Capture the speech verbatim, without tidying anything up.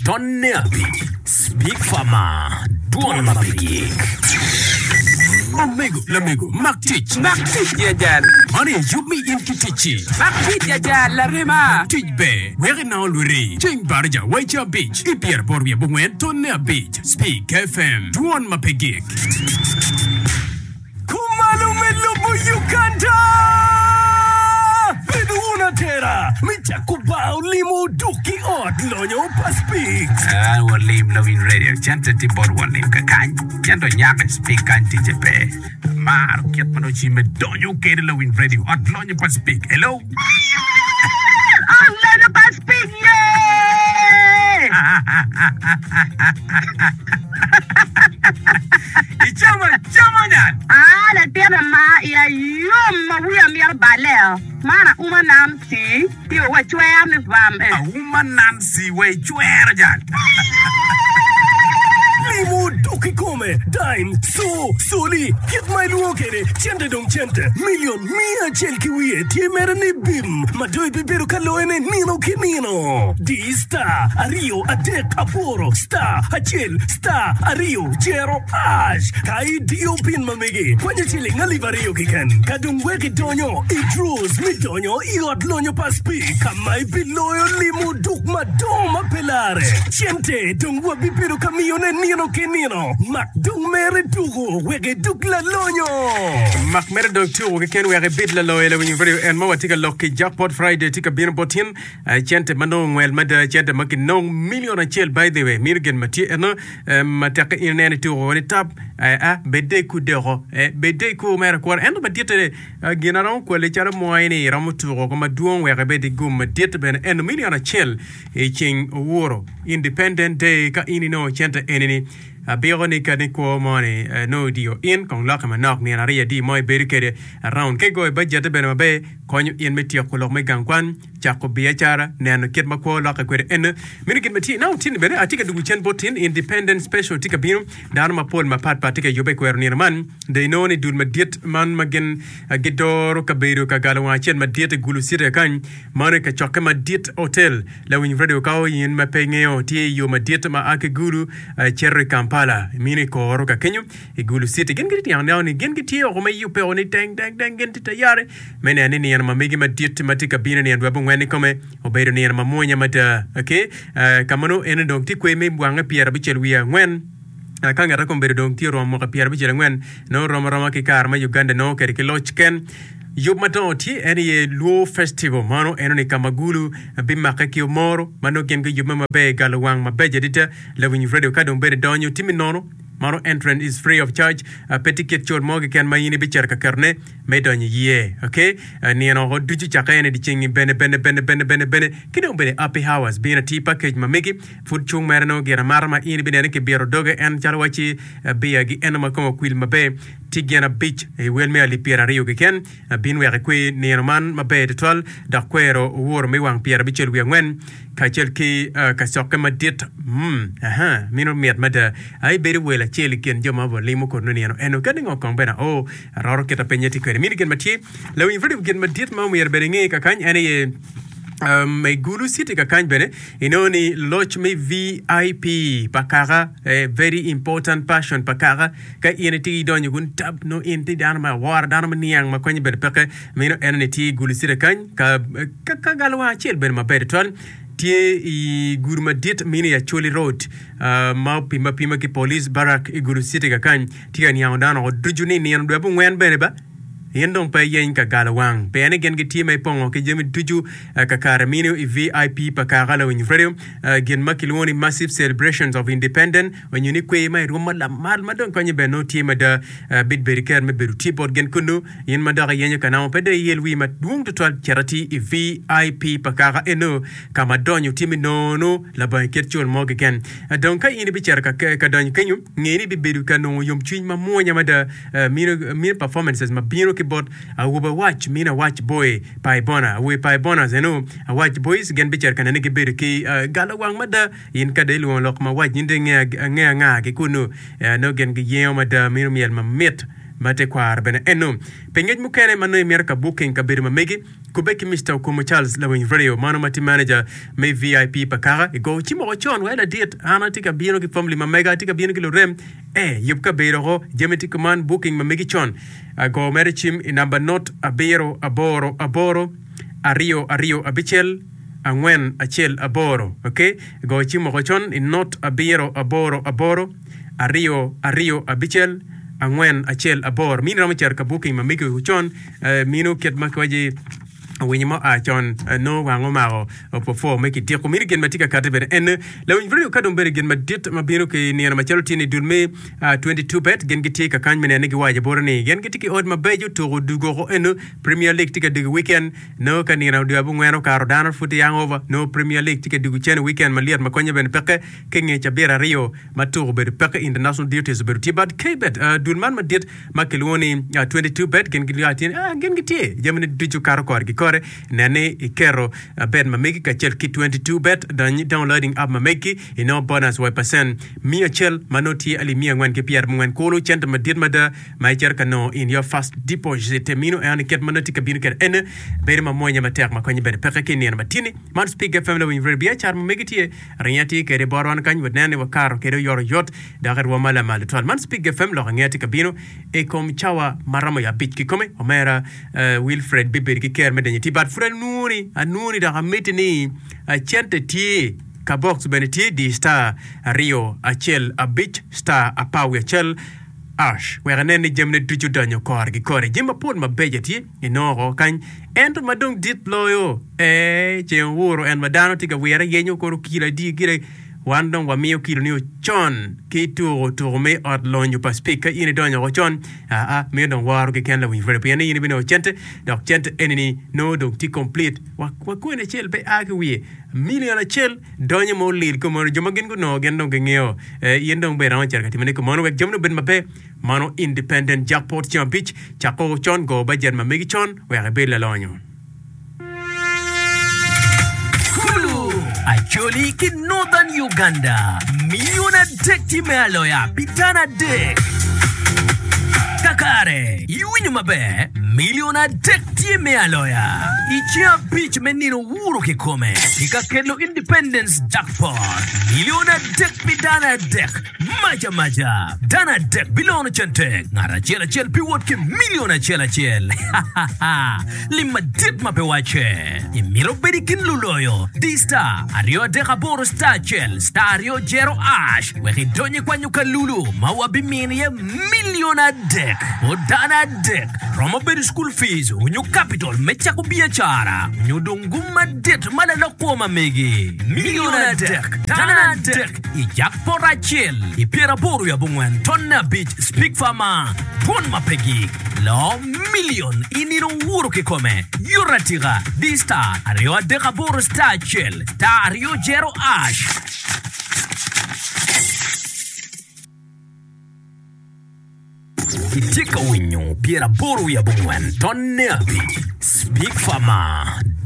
tonne abic. Speak Farmer, dwon ma pe gik. Omego, lamego, mak tic. Mak tic ya jal. Man aye yub me in ki ticci. Mak tic ya jal, larema. Tic ber, wek inong olwiri. Ceng baraja waica abic, ki pyeraboro wiye abongwen tonne abic. Speak F M, dwon ma pe gik. Kumalo me lobo Uganda! Bedo wun atera me cako bar olimo duk ki ot lonyo pa Speak. Ah, walim lawiny radio cente tye bot walim kakany cente onyako i Speak kany ticce pe amaro kit ma nongo cimme donyo kede lawiny radio ot lonyo pa Speak hello. Ot lonyo pa Speak ye! Icamo acama nyal. Aa latin ama iya yom ma wiya mito balle-o, man auma Nancy tye wa cwer ni vam eh. Auma Nancy wa icwero jal. Limo dok kikome, dime, co, coli, kit ma ilwongo kwede, cente dong cente, milion miya acel ki wiye tye mere ni bim ma dong ibibedo ka loyone nino ki nino. Di star aryo adek aboro star acel star aryo jero ash ka idiyo pin ma megi kwanyo ciling alip aryo keken ka dong wek idonyo i draws me donyo i ot lonyo pa Speke ka ma ibiloyo limo duk madongo ma pe lare. Cente dong wabibedo ka miyone nino ki nino. Mak dong mere tuko wek iduk lalonyo. Mak mere dong tuko keken wek ibed laloyo. Lawiny Radio en ma watye ka lok ki Jackpot Friday tye ka bino bot in. Cente ma nongo ngwel mada, cente ma kinong million acel by the way mino gin ma tye eno ma tekke in ineno ituko ni tap a bed dek kudoko bed dek ku mere akwora ento maditte gin aromo kwali calo moi ni iromo tuko ko madwong wek ibed i gum madit bene eno million acel i ceng owuro Independent Day ka in inongo cente enini abiko ni kadi kwo mo ni nongo idiyo in kong lokke manok nino aryo adi mo ibedo kede around ka igoyo bajette bene maber konyo in me tyeko lok me gang kwan cako biacara neno kit ma kwo lokke kwede eno meno gin ma tye now tin bene atye ka dugu cen bot tin Independent Special tye ka bino dano mapol mapat pat tye ka yubbe i kwero nino man dong inongo ni dul madit man ma gin gidoro kabedo ka galo wang acel madit i Gulu City kany mano i kacokke madit hotel lawiny radio ka in ma pe ingeyo tye i yo madit ma a ki Gulu cito i Kampala mino i koro ka kenyo i Gulu City gin gitye tyeno neno ni gin gitye oko me yubbe o ni teng teng teng gin tye tayari me neno ni nino ma megi madit ma tye ka bino nino dwe abongwen i kome obedo nino ma mwonya mada. Okay, ka ma nongo eni dong tye kwer me wange pyerabicel wiye angwen ka ngat akobedo dong tye oromo mwaka pyerabicel angwen nongo rom aroma ki kare ma Uganda nongo kede ki loc ken. Yub madongo tye en iye Luo Festival mano eno ni ka ma Gulu bimake ki omoro ma nongo gin giyubbe maber i galo wang mabeco adada. Lawiny radio ka dong bene donyo timi nono mano entrance is free of charge pe tye kit cul mo keken ma in ibicito ka ketone me donyo iye. Ok nino oko ducu cakke en i dyeceng-ngi bene bene bene bene bene bene ki dong bene happy hours bino atir package ma megi pud cung mere nongo gin amata ma in ibineno ni kibito doge en calo wacci beer gi eno ma kome okwil maber tye gin abic i wel me alip pyeraryo keken bin wek ikwer nino man maber tutwal dok kwero owuro me wang pyerabicel wiye angwen kacel ki kacokke madit mm aha mino mit mada ai bedo wel acel i kin jo ma walimo kod nino eno kadi ngo kong bene oo aroro kita penye tye kwede mino gin ma tye lawiny radio gin madit ma omyero bene inge kakany en aye um, i Gulu City kakany bene inongo ni loc me V I P pa kaka eh, very important person pa kaka ka in itye idonyo kun tab no in tye dano ma awora dano ma niang ma konye bene peke mino eno ni tye i Gulu City kany ka, ka, ka galowang acel bene maber tutwal tye i gudo madit mino i Acholi Road uh, ma opime apima ki Police Barrack i Gulu City kakany tye ka niango dano oko ducu ni nino dwe abongwen bene ba in dong pe iyeny ka galo wang pien ni gin gitye ma ipongo ki jami ducu uh, kakare mino i V I P pa kaka lawiny radio uh, gin ma kilwongo ni massive celebrations of independence onyo ni kwer ma irwom ma lamal ma dong konye bene nongo tye mada uh, bit bedo ker me bedo tye bot gin kunu in ma dok iyenyo ka namo pe dong iyel wi madwong tutwal cito atir i V I P pa kaka eno ka ma donyo tye me nono labongo kit cul mo keken. Dong ka in ibicito ka, ka donyo kenyo nge ni ibibedo ka nongo yomcwiny mamwonya mada uh, mino, mino performances ma bino ki bot awobe awac mino awac boy paibona awobe paibonas eno awac boys gin bicito ka nene gibedo ki uh, galo wang mada in ka dong ilwongo lok ma wac in dong inge ange anga ki kunu uh, nongo gin giyengo mada mino myel mamit. ma tekwaro bene eno. Pi ngec mukene ma nongo imito ka booking kabedo ma megi, kubbe ki Mister Okumu Charles Lawiny Radio mano ma tye manager me V I P pa kaka. I go cim woko con wai ladit, an atye ka bino ki family ma mega, atye ka bino ki lurem. Eh, yub kabedo oko, jami tye kuman, booking ma megi con. Go mere cim i namba not abiro aboro aboro aryo aryo abicel angwen acel aboro. Ok, go cim woko con i not abiro aboro aboro aryo aryo abicel angwen acel aboro. Mini romo cito ka booking ma megi con, eh, mino kit ma kiwaci winyo mo a con, eh, nongo wang omako opopwo me kitiko. Mini gin ma tye ka kati bene en lawiny radio ka dong bedo gin madit ma bino ki nino macalo tye ni dul me ah, twenty-two bet gin gitye ka kany me nene giwaco bote ni gin gitye ki ot mabeco tuko dugo oko eno Premier League tye ka dugo weekend nongo ka nino dwe abongwen okato dano pud tye hangover nongo Premier League tye ka dugo cene weekend malyet ma konye bene peke ki nge cabit aryo ma tuko obedo peke international duties obedo tye but K-bet ah, dul man madit ma kilwongo ni ah, twenty-two bet gin gilwongo tye ni ah, gin gitye jamine ducu kato korgi kore nene iketo ah, bet ma megi kacel ki twenty-two bet dony downloading app ma megi inongo bonus wa percent miya acel ma nongo tye alip miya angwen ki pyera abongwen kulu cente madit mada ma icito ka nongo in your first deposit mino en ket ma nongo tye ka bino kede en bedo ma mwonya matek ma konye bene peke ki nino matini man Speak F M lawiny radio biacara ma megi tye ringa tye kede bot wan kany wanene ni wakato kede oyotoyot dok irwom ma lamal tutwal man Speak F M lok angeya tye ka bino i kom cawa ma romo ya abic kikome omera, eh, Wilfred bibedo ki ker me denyo tye but pud anwoni anwoni dok amiti ni, eh, cente tye ka box bene tye di star aryo acel abic star apar wiye acel ash wek inen ni jamine ducu donyo kore ki kore jami mapol mabeco tye inongo oko kany ento ma dong dit loyo ee ceng owuro en ma dano tye ka wire yenyo koro kilo adi gire wan dong wamiyo kilo ni ocon ki tuko tuko me ot lonyo pa Speak ka in idonyo oko con aa miyo dong woro keken lawiny radio pien ni in ibinongo cente dok cente eni ni nongo dong tye complete wa kwene acel pe a ki wiye million acel donyo ma olil kumono jo ma gin gunongo gin dong gingeyo, eh, in dong bene iromo cito ka timone kumono wek jamine obed maber mano independent jackpot ceng abic cako con go budget ma megi con wek ibed lalonyo. Kulu, Acholi ki Northern Uganda, milion adek tye me aloya pi dano adek. Kakare, iwinyo maber, milion adek tye me aloya i ceng abic me nino wuro kikome ki ka kelo Independence Jackpot. Milion adek pi dano adek, maca maca. Dano adek bilono cente, ngat acel acel biwot ki milion acel acel. Lim madit ma pe wacce. Imito bedo i kin luloyo? Di star aryo adek aboro star acel star aryo jero ash wek idony i kwanyo kalulu ma wabimini iye milion adek. Bot dano adek romo bedo school fees onyo capital me cako biacara onyo dong gum madit ma lalok kwo ma megi. Milion adek dano adek i jackpot acel i pyeraboro wiye abongwen tonne abic Speak Farmer dwon ma pe gik. Loo milion i nino wuro kikome. Yot atika. Di star aryo adek aboro star acel star aryo jero ash. Itye ka winyo pyeraboro wiye abongwen tonne abic Speak Farmer.